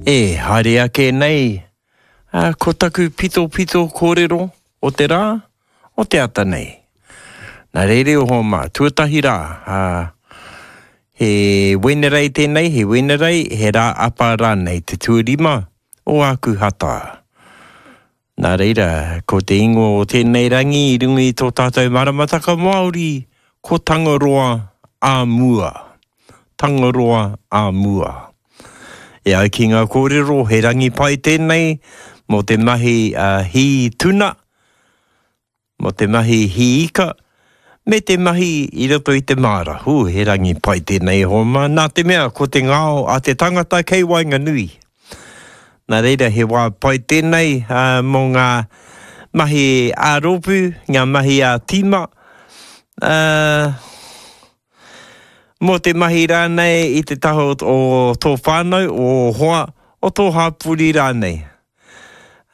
E haere ake nei, ā, ko taku pitopito kōrero o te rā, o te ata nei. Nā reira e hoa mā, tuatahi rā, ā, he Wenerei tēnei, he Wenerei, he rā apa rānei, te tuarima o Ākuhata. Nā reira, ko te ingoa o tēnei rangi i runga i tō tātou maramataka Māori, ko Tangaroa ā mua. Tangaroa ā mua. E ai ki ngā kōrero, he rangi pai tēnei mō te mahi hī tuna, Mō te mahi hī ika, me te mahi i roto i te māra. Hū, he rangi pai tēnei e hoa mā, nā te mea ko te ngao a te tangata kei waenganui. Nā reira, he wā pai tēnei mō ngā mahi ā-rōpū, ngā mahi ā-tīma, ā, mō te mahi rānei i te taha o tō whānau, o ō hoa, o tō hapori rānei.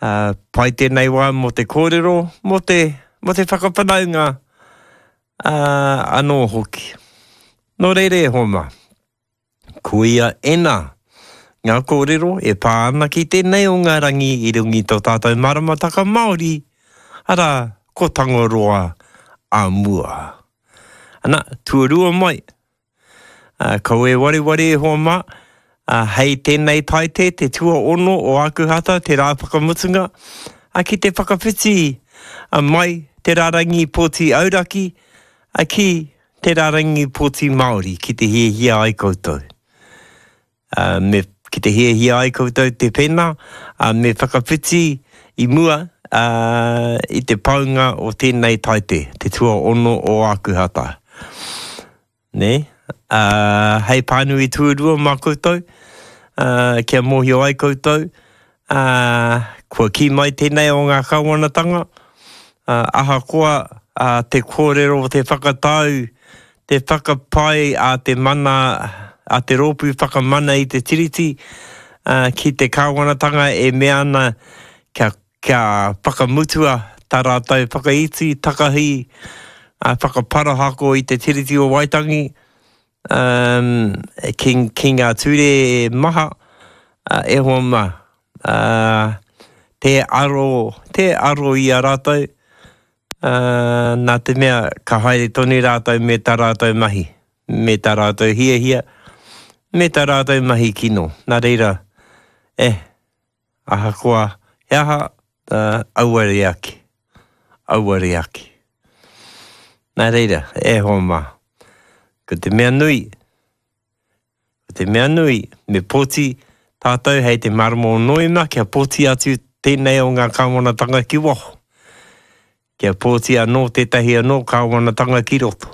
Ā, pai tēnei wā mō te kōrero, mō te, mō te whakawhanaunga, ā, anō hoki. Nō reira e hoa mā, koia ēnā ngā kōrero e pā ana ki tēnei o ngā rangi i runga i tō tātou maramataka Māori, arā, ko Tangaroa ā mua. Ana, tuarua mai, Ā, kaua e wareware e hoa mā, ā, hei tēnei Taite, te tuaono o Ākuhata, te rā whakamutunga, ā, ki te whakawhiti mai te rārangi pōti auraki, ā, ki te rārangi pōti Māori, ki te hiahia ai koutou. Ā, me, ki te hiahia ai koutou te pēnā, ā, me whakawhiti i mua, ā, i te paunga o tēnei Taite, te tuaono o Ākuhata. Nē? Ā, hei pānui tuarua mā koutou, ā, kia mōhio ai koutou, ā, kua kī mai tēnei o ngā kāwanatanga, ā, ahakoa, ā, te kōrero, te whakatau, te whakapae a te mana, a te Rōpū Whakamana i te Tiriti, ā, ki te kāwanatanga e mea ana kia kia whakamutua tā rātou whakaiti, takahi, whakaparahako i te Tiriti o Waitangi ki, ki ngā ture maha e hoa mā. Tē aro, tē aro i a rātou, nā te mea ka haere tonu rātou me tā rātou mahi, me tā rātou hiahia, me tā rātou mahi kino. Nā reira, eh, Ahakoa he aha, auare ake, auare ake. Nā reira, e hoa mā, ko te mea nui, ko te mea nui, me pōti tātou hei te marama o Noema kia pōti atu tēnei o ngā kāwanatanga ki waho. Kia pōti anō tētahi anō kāwanatanga ki roto.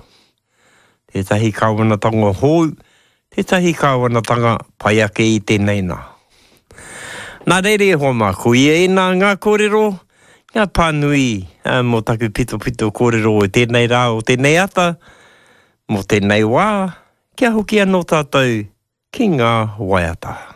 Tētahi kāwanatanga hou, tētahi kāwanatanga pai ake i tēnei nā. Nā reira e hoa mā, ko ia ēnā ngā kōrero, ngā pānui mō taku pitopito kōrero o tēnei rā, o tēnei ata, mō tēnei wā, kia hoki anō tātou ki ngā waiata.